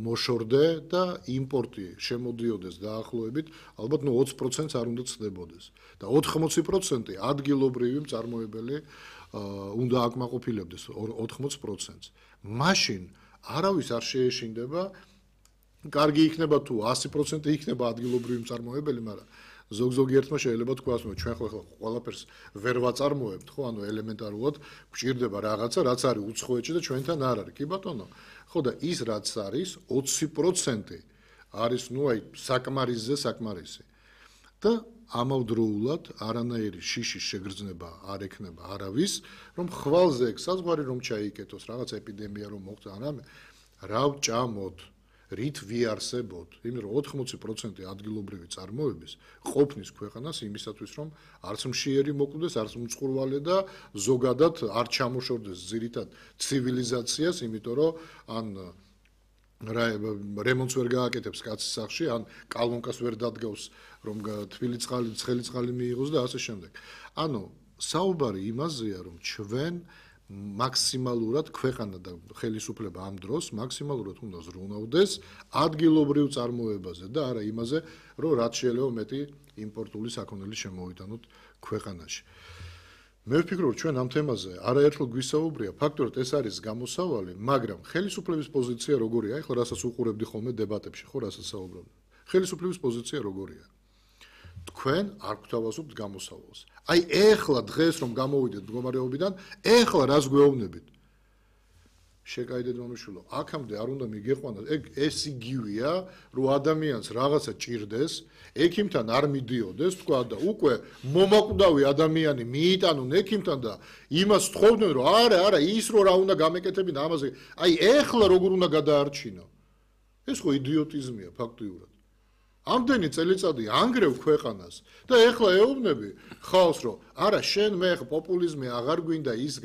მოშორდე და იმპორტი შემოდიოდეს დაახლოებით ალბათ 20%-ს არ უნდა ცდებოდეს და 80% ადგილობრივი მწარმოებელი უნდა აკმაყოფილებდეს 80%-ს. მაშინ არავის არ შეეშინდება, კარგი იქნება თუ 100% იქნება ადგილობრივი მწარმოებელი, მაგრამ ზოგ-ზოგიერთმა შეიძლება თქვას, რომ ჩვენ ხო ყველაფერს ვერ ვაწარმოებთ, ხო, ანუ ელემენტარულად გვჭირდება რაღაცა, რაც არის უცხოეთში და ჩვენთან არ არის. კი ბატონო, ხო და ის რაც არის 20% არის, საკმარისი. და ამავდროულად არანაირი შიშის შეგრძნება არ ექნება არავის, რომ ხვალზე ეგ საზღვარი რომ ჩაიკეტოს, რაღაც ეპიდემია რომ მოხდა, არამე რა ვჭამოთ, რით ვიარსებოთ, იმიტომ რომ 80% ადგილობრივი წარმოების ყოფნის ქვეყანას იმისათვის, რომ არც მშიერი მოკვდეს, არც მწყურვალე და ზოგადად არ ჩამოშორდეს ძირითად ცივილიზაციას, იმიტომ რომ ან რემონტს ვერ გააკეთებს კაცის სახლში, ან კალონკას ვერ დადგავს, რომ თბილი წყალი, ცხელი წყალი მიიღოს და ასე შემდეგ. ანუ საუბარი იმაზეა, რომ ჩვენ მაქსიმალურად ქვეყანა და ხელისუფლება ამ დროს მაქსიმალურად უნდა ზრუნავდეს ადგილობრივ წარმოებაზე და არა იმაზე, რომ რაც შეიძლება მეტი იმპორტული საქონელი შემოვიტანოთ ქვეყანაში. მე ვფიქრობ, ჩვენ ამ თემაზე არაერთხელ გვისაუბრია, ფაქტობრივად ეს არის გამოსავალი, მაგრამ ხელისუფლების პოზიცია როგორია? ეხლა რასაც უყურებდი ხოლმე დებატებში, ხო, რასაც საუბრობდი. ხელისუფლების პოზიცია როგორია? თქვენ არ გვთავაზობთ გამოსავალს. აი ეხლა დღეს რომ გამოვიდეთ მდგომარეობიდან, ეხლა რას გვეუბნებით? შეკაიდეთ მომიშულო, აქამდე არ უნდა მიგეყვანათ, ეს იგივეა, რომ ადამიანს რაღაცა ჭირდეს, ექიმთან არ მიდიოდეს, თქვა და უკვე მომაკვდავი ადამიანი მიიტანონ ექიმთან და იმას თხოვდნენ, რომ არა, ის რო რა უნდა გამეკეთებინა ამაზე, აი ეხლა როგორ უნდა გადაარჩინო? ეს ხო იდიოტიზმია ფაქტიურად. ამდენი წელიწადი ანგრევ ქვეყანას და ეხლა ეუბნები ხალხს, რომ არა, შენ მე პოპულიზმი აღარ გვინდა ის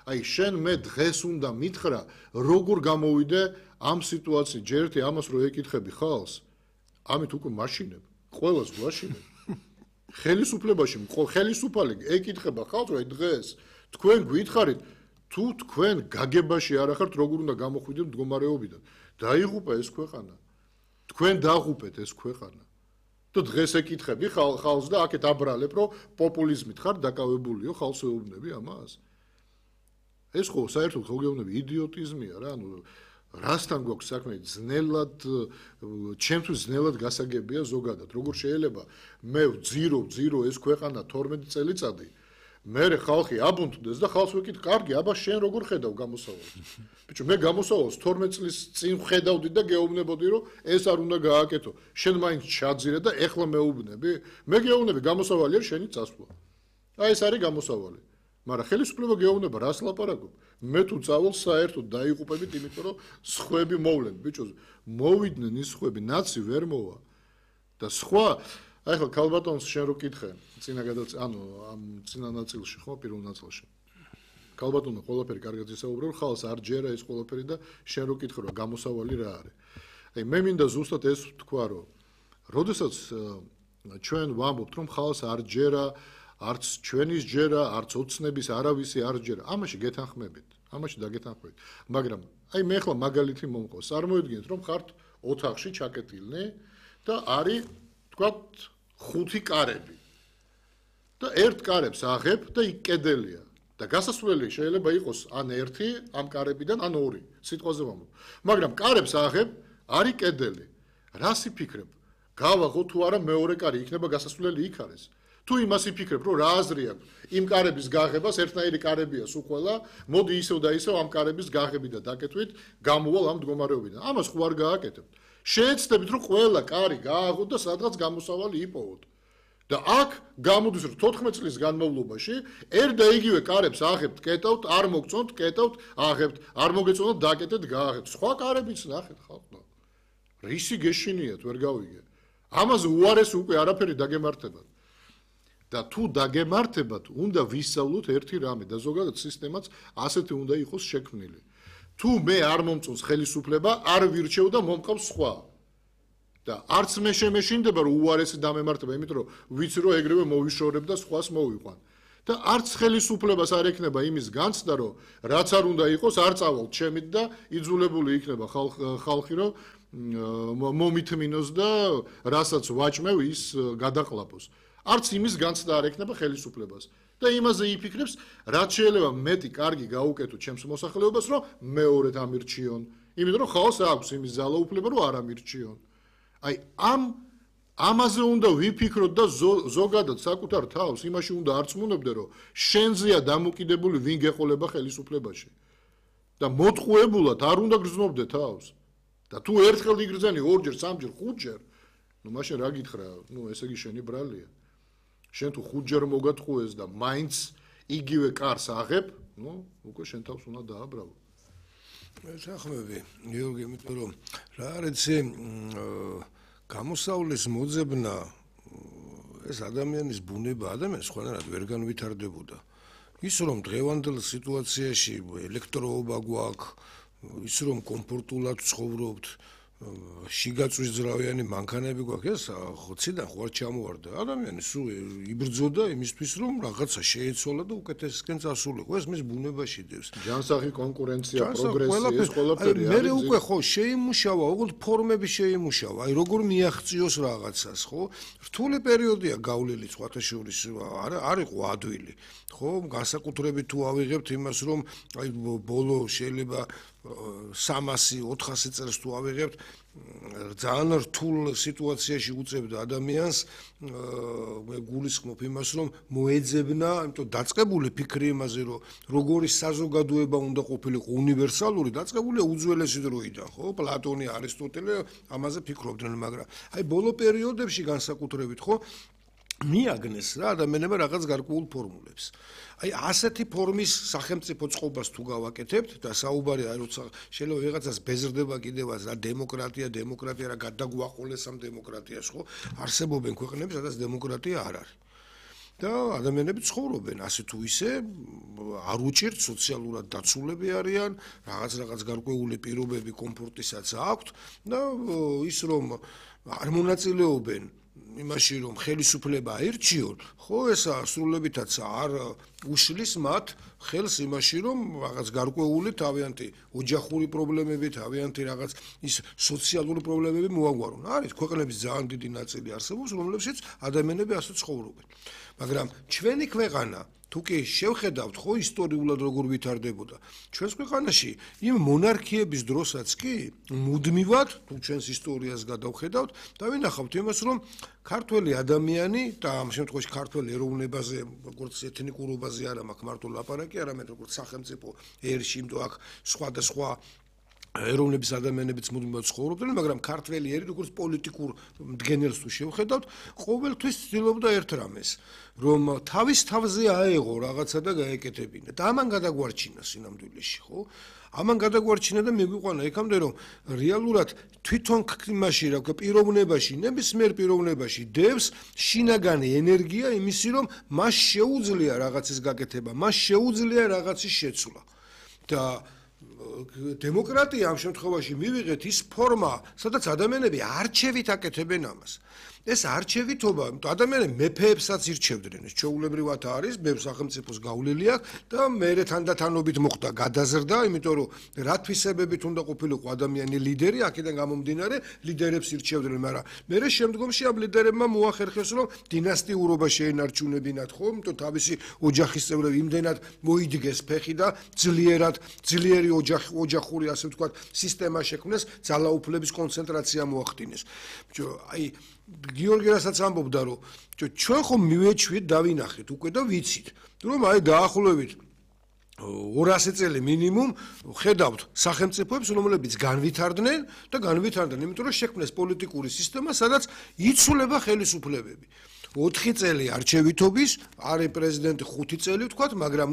აი შენ მე დღეს უნდა მითხრა, როგორ გამოვიდე ამ სიტუაციაში, ჯერ ერთი ამას რო ეკითხები ხალხს, ამით უკვე მაშინებ, ყველას გვაშინებ. ხელისუფლებაში ხელისუფალი ეკითხება ხალხს, რომ დღეს თქვენ გითხარით, თუ თქვენ გაგებაში არ ახართ, როგორ უნდა გამოხვიდეთ მდგომარეობიდან. დაიღუპა ეს ქვეყანა. თქვენ დაღუპეთ ეს ქვეყანა. და დღეს ეკითხები ხალხს და აქეთ აბრალებ, რომ პოპულიზმით ხარ დაკავებულიო, ხალხს ეუბნები ამას. ეს ხო საერთოდ ხოგეუბნები იდიოტიზმია რა, ანუ რასთან გვაქვს საქმე, ძნელად, ჩემთვის ძნელად გასაგებია ზოგადად. როგორ შეიძლება მე ვძირო ეს ქვეყანა 12 წელიწადი, მერე ხალხი აბუნტდეს და ხალხს ვეკითხ, კარგი, აბა შენ როგორ ხედავ გამოსავალს? ბიჭო, მე გამოსავალს 12 წლის წინ ხედავდი და გეუბნებოდი, რომ ეს არ უნდა გააკეთო. შენ მაინც ჩაძირე და ეხლა მეუბნები? მე გეუბნები, გამოსავალი არის შენი წასვლა. აი ეს არის გამოსავალი. მაგრამ ხელისუფლება გეუბნება, რას ლაპარაკობ? მე თუ წავალ საერთოდ დაიღუპებით, იმიტომ რომ სხვები მოვლენ, ბიჭო, მოვიდნენ ის სხვები, ნაცი ვერ მოვა. და სხვა აი ხო ქალბატონს შენ რო კითხე წინა ამ წინა ნაწილში ხო პირველ ნაწილში ქალბატონო ყველაფერი კარგად ისაუბრე რომ ხალხს არ ჯერა ეს ყველაფერი და შენ რო კითხე რომ გამოსავალი რა არის აი მე მინდა ზუსტად ეს თქვა რომ როდესაც ჩვენ ვამბობთ რომ ხალხს არ ჯერა არც ჩვენის ჯერა არც ოცნების არავისი არ ჯერა ამაში გეთანხმებით ამაში დაგეთანხმებით მაგრამ აი მე ახლა მაგალითი მომყავს წარმოიდგინეთ რომ ხართ ოთახში ჩაკეტილნი და არის თქვათ 5 კარები და ერთ კარებს აღებ და იქ კედელია და გასასვლელი შეიძლება იყოს ან 1 ამ კარებიდან ან 2 სიტყვაზე ვამბობ მაგრამ კარებს აღებ არის კედელი რას იფიქრებ გავაღო თუ არა მეორე კარი იქნება გასასვლელი იქ არის თუ იმას იფიქრებ რომ რა აზრი აქვს იმ კარების გაღებას ერთნაირი კარებია სულ ყველა მოდი ისევ და ისევ ამ კარების გაღები და დაკეთვით გამოვალ ამ მდგომარეობიდან ამას ხო არ გააკეთებთ შეეცდებით რომ ყველა კარი გააღოთ და სადღაც გამოსავალი იპოვოთ და აქ გამოდის რომ 14 წლის განმავლობაში ერთ და იგივე კარებს აღებთ კეტავთ არ მოგწონთ კეტავთ აღებთ არ მოგეწონათ დაკეტეთ გააღებთ სხვა კარებიც ნახეთ ხალხო რისი გეშინიათ ვერ გავიგე ამაზე უარეს უკვე არაფერი დაგემართებათ და თუ დაგემართებათ უნდა ვისწავლოთ ერთი რამე და ზოგადად სისტემაც ასეთი უნდა იყოს შექმნილი თუ მე არ მომწონს ხელისუფლება არ ვირჩევ და მომყავს სხვა და არც მე შემეშინდება რომ უარესი დამემართება იმიტომ რომ ვიცი რომ ეგრევე მოვიშორებ და სხვას მოვიყვან და არც ხელისუფლებას არ ექნება იმის განცდა, რომ რაც არ უნდა იყოს, არ წავალ ჩემით და იძულებული იქნება ხალხი, რომ მომითმინოს და რასაც ვაჭმევ ის გადაყლაპოს. არც იმის განცდა არ ექნება ხელისუფლებას. და იმაზე იფიქრებს, რაც შეიძლება მეტი კარგი გაუკეთო ჩემს მოსახლეობას, რომ მეორედ ამირჩიონ. იმიტომ რომ ხალხს აქვს იმის ძალაუფლება, რომ არ ამირჩიონ. აი ამაზე უნდა ვიფიქროთ და ზოგადად საკუთარ თავს იმაში უნდა არწმუნებდე, რომ შენზეა დამოკიდებული ვინ გეყოლება ხელისუფლებაში. და მოტყუებულად არ უნდა გრძნობდე თავს. და თუ ერთხელ იგრძენი, ორჯერ, სამჯერ, ხუთჯერ, მაშინ რა გითხრა, ესე იგი შენი ბრალია. შენ თუ ხუთჯერ მოგატყუეს და მაინც იგივე კარს აღებ, უკვე შენ თავს უნდა დააბრალო. ეხმები, გიორგი, იმიტომ რომ რა არის გამოსავლის მოძებნა ეს ადამიანის ბუნება ადამიანს სხვანაირად ვერ განვითარდებოდა. ის რომ დღევანდელ სიტუაციაში ელექტროობა გვაქვს, ის რომ კომფორტულად ცხოვრობთ, შიგაწვის ძრავიანი მანქანები გვაქვს, ეს ხოციდან ხო არ ჩამოვარდა. ადამიანი სულ იბრძოდა იმისთვის, რომ რაღაცა შეეცვალა და უკეთესისკენ წასულიყო. ეს მის ბუნებაში დევს. ჯანსაღი კონკურენცია, პროგრესი, ეს ყველაფერი არის. მე უკვე ხო შეიმუშავა, უბრალოდ ფორმები შეიმუშავა. აი როგორ მიაღწიოს რაღაცას, ხო? რთული პერიოდია გავლილი სხვათაშორის, არ იყო ადვილი. ხო, განსაკუთრებით თუ ავიღებთ იმას, რომ აი ბოლო შეიძლება 300-400 წელს თუ ავიღებთ, ძალიან რთულ სიტუაციაში უწევდა ადამიანს, მე გულისხმობ იმას, რომ მოეძებნა, იმიტომ დაწყებული ფიქრი იმაზე, რომ როგორი საზოგადოება უნდა ყოფილიყო უნივერსალური, დაწყებულია უძველესი დროიდან, ხო? პლატონი, არისტოტელე ამაზე ფიქრობდნენ, მაგრამ აი ბოლო პერიოდებში განსაკუთრებით, ხო? მიაგნეს რა ადამიანებმა რაღაც გარკვეულ ფორმულებს. აი ასეთი ფორმის სახელმწიფო წყობას თუ გავაკეთებთ და საუბარი აი როცა შეიძლება ვიღაცას ბეზრდება კიდევაც რა დემოკრატია რა გადაგვაყოლეს ამ დემოკრატიას, ხო? არსებობენ ქვეყნები, სადაც დემოკრატია არ არის. და ადამიანები ცხოვრობენ ასე თუ ისე, არ უჭირთ სოციალურად დაცულები არიან, რაღაც გარკვეული პირობები კომფორტისაც აქვთ და ის რომ არ მონაწილეობენ იმაში რომ ხელისუფლება აირჩიონ, ხო ესა სრულებითაც არ უშლის მათ ხელს იმაში რომ რაღაც გარკვეული თავიანთი ოჯახური პრობლემები, თავიანთი რაღაც ის სოციალური პრობლემები მოაგვარონ. არის ქვეყნების ძალიან დიდი ნაწილი არსებობს, რომლებშიც ადამიანები ასე ცხოვრობენ. მაგრამ ჩვენი ქვეყანა თუ კი შევხედავთ ხო ისტორიულად როგორ ვითარდებოდა ჩვენს ქვეყანაში იმ მონარქიების დროსაც კი მუდმივად თუ ჩვენს ისტორიას გადავხედავთ და ვინახავთ იმას რომ ქართველი ადამიანი და ამ შემთხვევაში ქართველი ეროვნებაზე როგორც ეთნიკურობაზე არა მაქვს მარტო ლაპარაკი არამედ როგორც სახელმწიფო ერში იმიტომ აქ სხვადასხვა ეროვნების ადამიანებიც მუდმივად ცხოვრობდნენ, მაგრამ ქართველი ერი როგორც პოლიტიკურ მდგენელს თუ შევხედავთ, ყოველთვის ცდილობდა ერთ რამეს, რომ თავის თავზე აეღო რაღაცა და გაეკეთებინა. და ამან გადაგვარჩინა სინამდვილეში, ხო? ამან გადაგვარჩინა და მიგვიყვანა იქამდე, რომ რეალურად თვითონ იმაში, რა ვქო, პიროვნებაში, ნებისმიერ პიროვნებაში დევს შინაგანი ენერგია იმისი, რომ მას შეუძლია რაღაცის გაკეთება, მას შეუძლია რაღაცის შეცვლა. და დემოკრატია ამ შემთხვევაში მივიღეთ ის ფორმა, სადაც ადამიანები არჩევით აკეთებენ ამას. ეს არჩევითობა, ადამიანები მეფეებსაც ირჩევდნენ, ეს ჩვეულებრივად არის, ბევრ სახელმწიფოს გავლილი აქვს და მერე თანდათანობით მოხდა გადაზრდა, იმიტომ რომ რა თვისებებით უნდა ყოფილიყო ადამიანი ლიდერი, აქედან გამომდინარე, ლიდერებს ირჩევდნენ, მაგრამ მერე შემდგომში ამ ლიდერებმა მოახერხეს, რომ დინასტიურობა შეენარჩუნებინათ, ხო? იმიტომ თავისი ოჯახის წევრები იმდენად მოიდგეს ფეხი და ძლიერი ოჯახური, ასე ვთქვათ, სისტემა შექმნეს, ძალაუფლების კონცენტრაცია მოახდინეს. აი გიორგი რასაც ამბობდა, რომ ჩვენ ხომ მივეჩვით და ვინახეთ უკვე და ვიცით, რომ აი დაახლოებით 200 წელი მინიმუმ ხედავთ სახელმწიფოებს, რომლებიც განვითარდნენ, იმიტომ რომ შექმნეს პოლიტიკური სისტემა, სადაც იცვლება ხელისუფლებები. 4 წელი არჩევითობის, არის პრეზიდენტი 5 წელი ვთქვათ, მაგრამ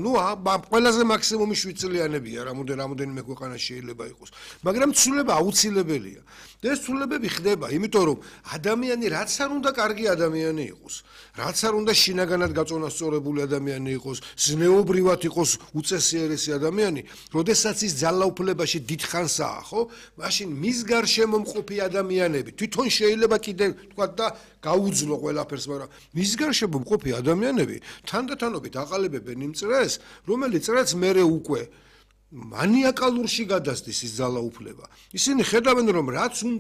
ყველაზე მაქსიმუმი 7 წლიანებია, რამოდენიმე ქვეყანაში შეიძლება იყოს. მაგრამ ცვლილება აუცილებელია. და ეს ცვლილებები ხდება, იმიტომ რომ ადამიანი რაც არ უნდა კარგი ადამიანი იყოს, რაც არ უნდა შინაგანად გაწონასწორებული ადამიანი იყოს, ზნეობრივად იყოს უწესიერესი ადამიანი, როდესაც ის ძალაუფლებაში დიდხანსაა, ხო? მაშინ მის გარშემო მყოფი ადამიანები თვითონ შეიძლება კიდე თქვა და გაუძლო ყველაფერს, მაგრამ მის გარშემო მყოფი ადამიანები თანდათანობით აყალიბებენ იმ წრეს, რომელიც წრეც მერე უკვე მანიაკალურში გადასდის ის ძალაუფლება. ისინი ხედავენ, რომ რაც